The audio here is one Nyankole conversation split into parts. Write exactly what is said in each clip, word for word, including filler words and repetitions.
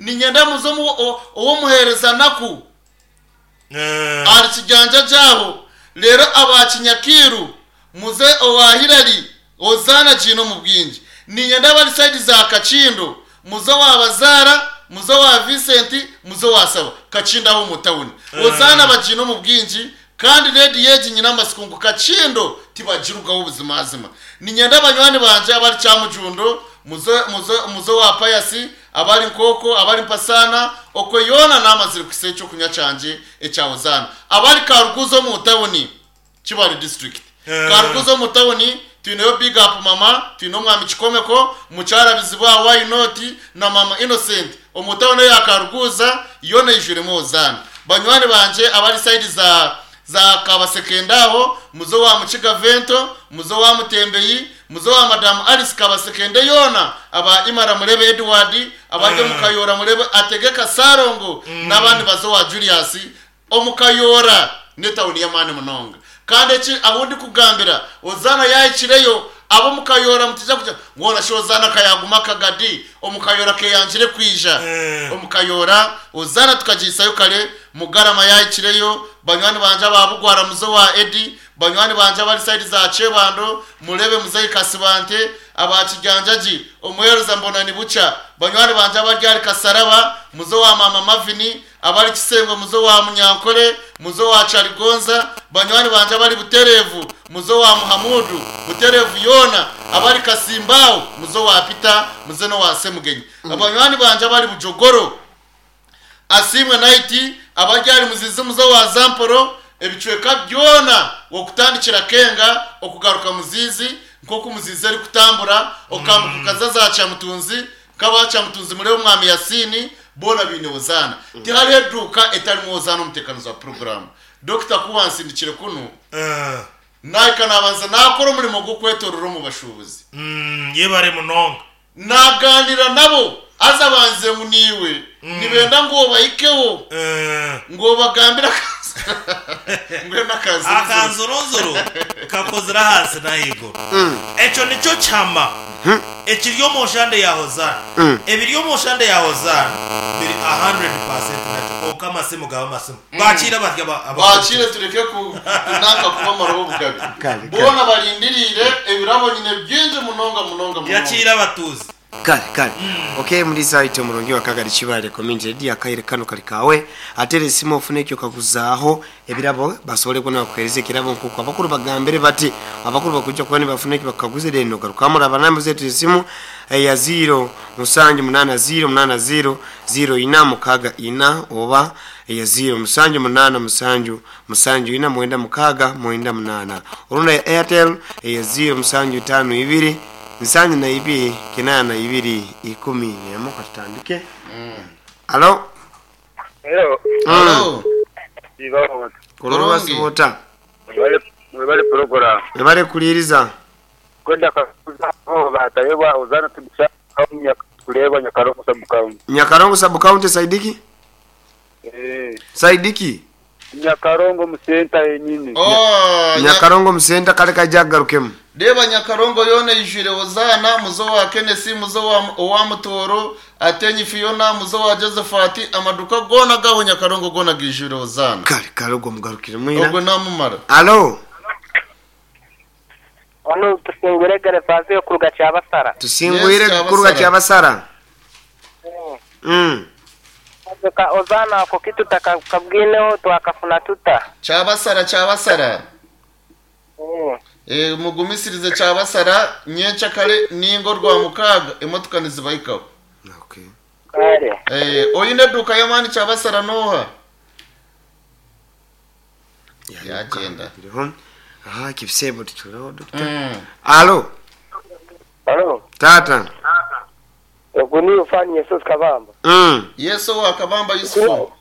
Niinyenda muze ow'omuheereza Naku ahari Kiganja gyaho, reero aba Kinyakiiru muze owa Hillary Hozaana agiine omu bwingi. Niinyenda abari sayidi za Kakindo muze owa Bazaara, muze owa Vincent, muze owa Saba. Kakindo aho omu tawuni. Hozaana bagiine omu bwingi kandi rediyo egi nyine amatsiko ngu Kakindo tibagirugaho buzimazima. Niinyenda banywani bangye abari Kyamujundo muze muze muze owa Pius, abari Nkooko, abari Mpasaana, okwe yoona naamazire kuhitsya ekyokunywa kyangye ekya Hozaana. Abari Karuguza omu tawuni, Kibaale district. Karuguza omu tawuni twineyo Big Up Mama, twine Omwami Kikomeko, Mukyara Bizibwa Why Not na Mama Innocent omu tawuni eya Karuguza yoona eijwiremu Hozaana. Banywani bangye abari sayidi za za Kabasekende aho, muze owa Mukiga Vento, muze owa Mutembeyi, muze owa Madamu Alice Kabasekende yoona, aba Imara murebe Edward, abari omu Kayoora murebe Ategeka Ssalongo n'abandi baze owa Julius omu Kayoora n'etawuni y'amaani munonga. Kandi eki ahu ndikugambira Hozaana yaahikireyo, ab'omu Kayoora mutaija kugira ngu hoona shi Hozaana ka yaaguma akagadi omu Kayoora keeyangire kwija omu Kayoora. Hozaana tukagihisayo kare, Mugarama yaahikireyo, banywani bangye aba Bugwara muze owa Eddy, banywani bangye abari sayidi za Kyebando mureebe Muzeeyi Kasibante, aba Kijanjagi, omuheereza Mbonanibukya, banywani bangye abari ahari Kasaraba muze owa Maama Mavini, abari Kisengwe muze owa Munyankore, muze owa Kyarigonza, banywani bangye abari Butereevu muze owa Muhamudu, Butereevu yoona, abari Kasimbaawo muze owa Peter, muze n'owa Semugenyi. Banywani bangye abari Bujogoro, Asiimwe Night, abari ahari Muzizi muze owa Zamporo, ebicweka byona okutandikira Kenga okugaruka Muzizi, nk'oku Muzizi erikutambura okambuka okaza za Kyamutunzi, nk'aba Kyamutunzi mureebe Omwami Yasiini, boona baine Hozaana. Tihariho eduuka etarimu Hozaana omu nteekaniza wa puroguraamu. Dokita ku wansindikire kunu, naahika naabanza naakora omurimo gw'okwetoorora omu bashuubuzi. Yebare munonga. Naagaaniira nabo, haza banzire ngu niiwe nibenda ngu obahikeho, ngu obagambire mbwenu akanzurunzuru. Akanzurunzuru kakozire ahansi n'ahaiguru. Ekyo nikyo kihama ekiri omu nshande ya Hozaana. Ebiri omu nshande ya Hozaana biri a hundred percent nakyo kwonka amasimu gaba amasimu. Baakiire batya Baakiire tureke kunanka kubamaraho obugabe. Kare, kare. Boona barindiriire ebirabo nyine bingi munonga munonga munonga. Yakiire abatuuzi. Kare kare ok muriisa waitu omurungi wa Kagari Kibaale Community Radio akaire kanu kari kaawe ateera esimu ofune ekyokaguzaaho ebirabo basobole kuba nibakuheereza ekirabo nkoku abakuru bagambire bati abakuru bakwija kuba nibafuna ekibakaguze then ogarukamu oraba namba zaitu z'esimu eya ziiro musanju munaana ziiro munaana ziiro ziiro ina mukaaga ina oba eya ziiro musanju munaana musanju musanju ina mwenda mukaaga mwenda munaana orundi eya Airtel eya ziiro musanju itaano ibiri nsanju na ibiri kinaana na ibiri ikumi n'emwe katutandike. Alo. Hello. Alo. Ibaho. Kurungi Kurungi. wasibuuta. Mwebale mwebale program. Webale kuliiriza. Kwenda kakuza ho batayebwa ozana tubisha nyaka kuleba Nyakarongo sub county. Nyakarongo sub county Saidiki? Eh. Saidiki? Nyakarongo mu center yenyini. Oh, Nya- Nyakarongo musenta kale kaija kugarukemu. Reeba Nyakarongo yoona eijwire Hozaana, muze owa Kenesi, muze owa owa Mutooro, Atenyi Fiona, muze owa Josephat, amaduka goona ag'aho Nyakarongo goona gaijwire Hozaana. Kale kale ogwo mugarukiremu ira. Ogwo naamumara. Alo. Onu tusingwire Gervasio kuruga Kyabasara. Tusingwire Yes, kuruga Kyabasara. Kyabasara. Mm. Ka Ozana ako kitu takabwineho twakafuna tuta. Kyabasara, Kyabasara. Mm. E, mugumisirize Kyabasara, nyenkyakare ninga orwamukaaga emotoka nizibahikaho. Okay. Kale. Eh, oine eduuka y'amaani Kyabasara n'oha? Yagyenda. Biriho. Aha kibisebo tukireho dokita. Mm. Alo. Alo. Tata. Ogu ni Ufani Yesus Kabamba. Mm. Yesu owa Kabamba Yusufu.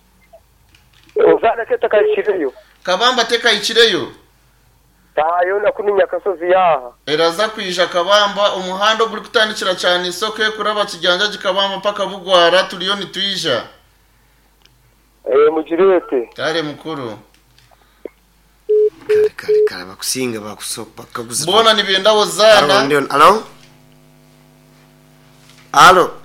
Ozana ke takashireyo. Kabamba tekahikireyo. Tayo na kuni Nyakasozi yaha. Eraza kwija Kabamba omuhanda ogurikutandikira kyane isoke kuraba Kijanjagi Kabamba mpaka Bugwara turiyo nitwija. Eh mugirete. Kare mukuru. Kale kale kale bakusinga bakusoka bakaguza. Boona nibenda Alo Hozaana. ndio. Alo. Alo.